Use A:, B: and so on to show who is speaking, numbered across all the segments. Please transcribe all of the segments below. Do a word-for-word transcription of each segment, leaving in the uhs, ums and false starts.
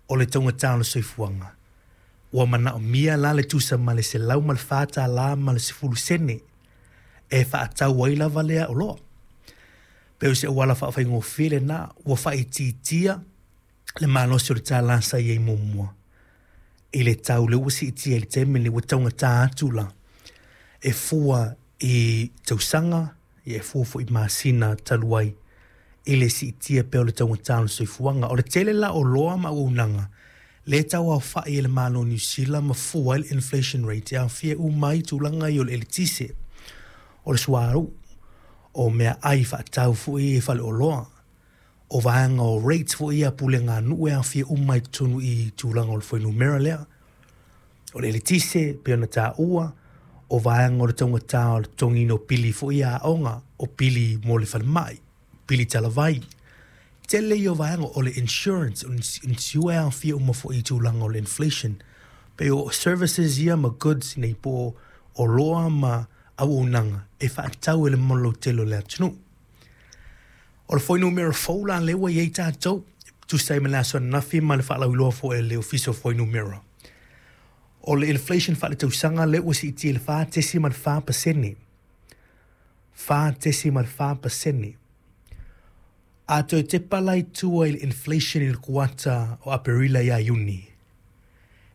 A: O le taugata o le soifuaga, ua manaomia la le tusa ma le selau ma le fa tala ma le sefulu sene e faatau ai lava lea oloa. Pe o se auala faafaigofie lena, ua faaitiitia le malosi o le tala sa i ai muamua i le tau lea ua siitia i le taimi lenei, ua taugata atu la e fua i tausaga, e fua foi i masina talu ai i le siitia pea o le taugata o le soifuaga. O le tele la o oloa ma auaunaga lea e tauaofai e le Malo o Niu Sila ma fua ai le inflation rate, e aofia uma ai tulaga ia o le eletise, o le suauu, o meaai faatau foi i faleoloa, o vaega o rates foi ia a puleganuu e aofia uma i totonu i tulaga o le fuainumera lea. O le eletise pei ona taua, o vaega o le taugata o le totogiina o pili foi ia aoga, o pili mo le falemai, pili talavai. Tele ia o vaega o le insurance, o le insure e aofia uma foi i tulaga o le inflation. Pei o services ia ma goods nei po o oloa ma auaunaga e faatau e le lautele o le atunuu. O le fuainumera fou la lea ua i ai tatou, tusa ai ma le aso ananafi ma le faalauiloa foi a le Ofisa o Fuainumera. O le inflation faaletausaga lea ua siitia i le fa tesimal fa pasene. fa tesimal fa pasene. A toe tepa la i tua i le inflation i le kuata o Aperila ia Iuni,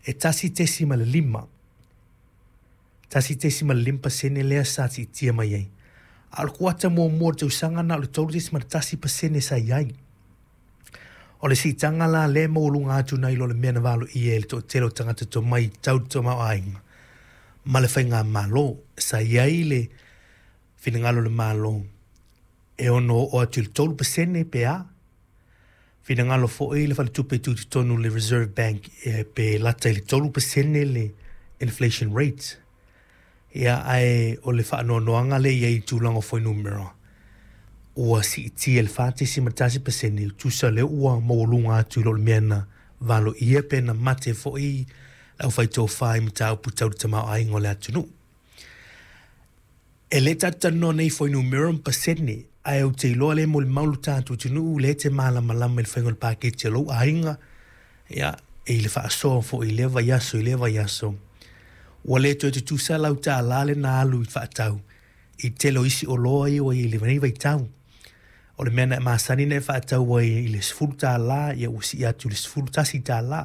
A: e tasi tesimal lima. tasi tesimal lima pasene lea sa siitia mai ai. A o le kuata muamua o le tausaga na o le tolu tesimal tasi pasene sa i ai. O le siitaga la lea e maualuga atu nai lo le mea na valoia e le toatele o tagata tomai tau le tamaoaiga ma le faigamalo. Sa i ai le finagalo o le Malo e ono oo atu i le tolu pasene pe a. Finagalo foi le faletupe tutotonu, le Reserve Bank, e pe lata i le tolu pasene le inflation rate. Ia, ae o le faanoanoaga lea i ai i tulaga o fuainumera, ua siitia i le fa tesimal tasi pasene, tusa lea ua maualuga atu i lo le mea na valoia pe na mate foi le aufaitofa i mataupu tau le tamaoaiga o le atunuu. E le tatou talanoa nei i fuainumera ma pasene, ae ou te iloa lea e molimau lo tatou atunuu lea e te malamalama i le faiga o le paketi a lou aiga, ia, i le faasoa foi i lea vaiaso i lea vaiaso. Ua le toe tutusa lau tala le na alu i faatau i tele o isi oloa ia ua i lenei vaitau. O le mea na e masani na e faatau ai i le sefulu tala, ia ua sii atu i le sefulu tasi tala.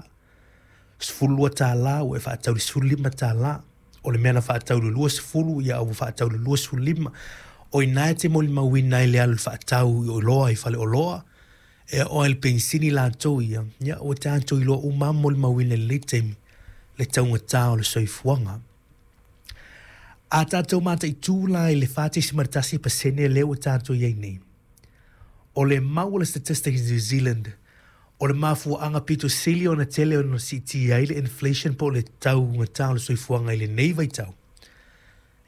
A: Sefulu lua tala, ua e faatau i le sefulu lima tala. O le mea na faatau i le luasefulu, ia ua faatau i le luasefulu lima. O i ina e te molimauina ai le alu i le faatau i oloa i faleoloa, e oo ai i le penisini latou ia, ia ua tatou iloa uma lava molimauina i lenei taimi le taugata o le soifuaga. A tatou mataitu la i le fa tesimal tasi pasene lea ua tatou i ai nei, o le mau a le Statistics New Zealand, o le mafuaaga pito sili ona tele ona siitia ai le inflation po o le taugata o le soifuaga i lenei vaitau.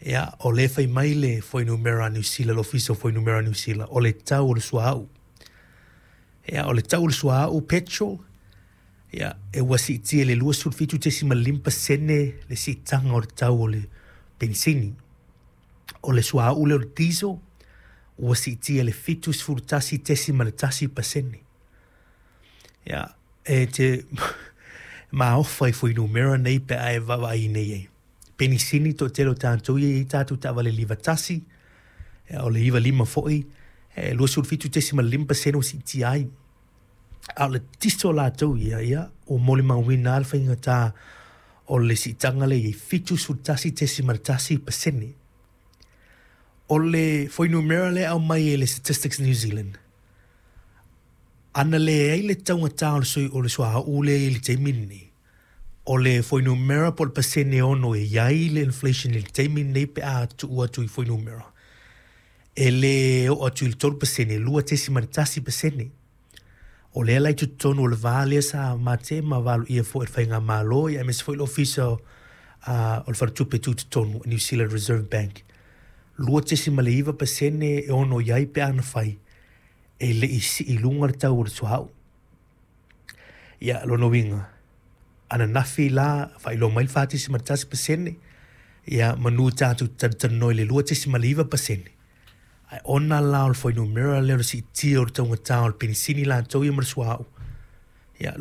A: Ia, o lea fai mai le fuainumera a Niu Sila, le Ofisa o Fuainumera a Niu Sila, o le tau o le suauu. Ia, o le tau o le suauu, petrol, ia, e ua siitia i le luasefulu fitu tesimal lima pasene le siitaga o le tau o le penisini. O le suauu lea o le diesel, ua siitia i le fitusefulu tasi tesimal tasi pasene. Ia, e te maofa i fuainumera nei pe a e vaavaai nei ai. Penisini, toatele o tatou ia e i ai tatou taavale liva tasi, ia, o le iva lima foi, e luasefulu fitu tesimal lima pasene ua siitia ai. A o le tiso latou ia, ia, ua molimauina lava le faigata o le siitaga lea i ai, fitusefulu tasi tesimal tasi pasene. O le fuainumera lea e aumai e le Statistics New Zealand, ana leai le taugata o le, sui, o le suauu lea i le taimi lenei, o le fuainumera po o le pasene ono e i ai le inflation i le taimi lenei pe a tuu atu i fuainumera, e le oo atu i le tolu pasene, lua tesimal tasi pasene. O lea la i totonu o le va lea sa mate ma valoia foi e le faigamalo, ia aemaise foi le Ofisa uh, o le Faletupe Tutotonu, New Zealand Reserve Bank. lua tesimal iva pasene e ono i ai pe ana fai e le i sii i luga le tau o le suauu. Ia, lona uiga, ananafi la faailoa mai le fa tesimal tasi pasene, ia manu tatou talatalanoa i le lua tesimal iva pasene. Ae ona la o le fuainumera lea o le siitia o le taugata o le penisini latou ia ma le suauu, ia,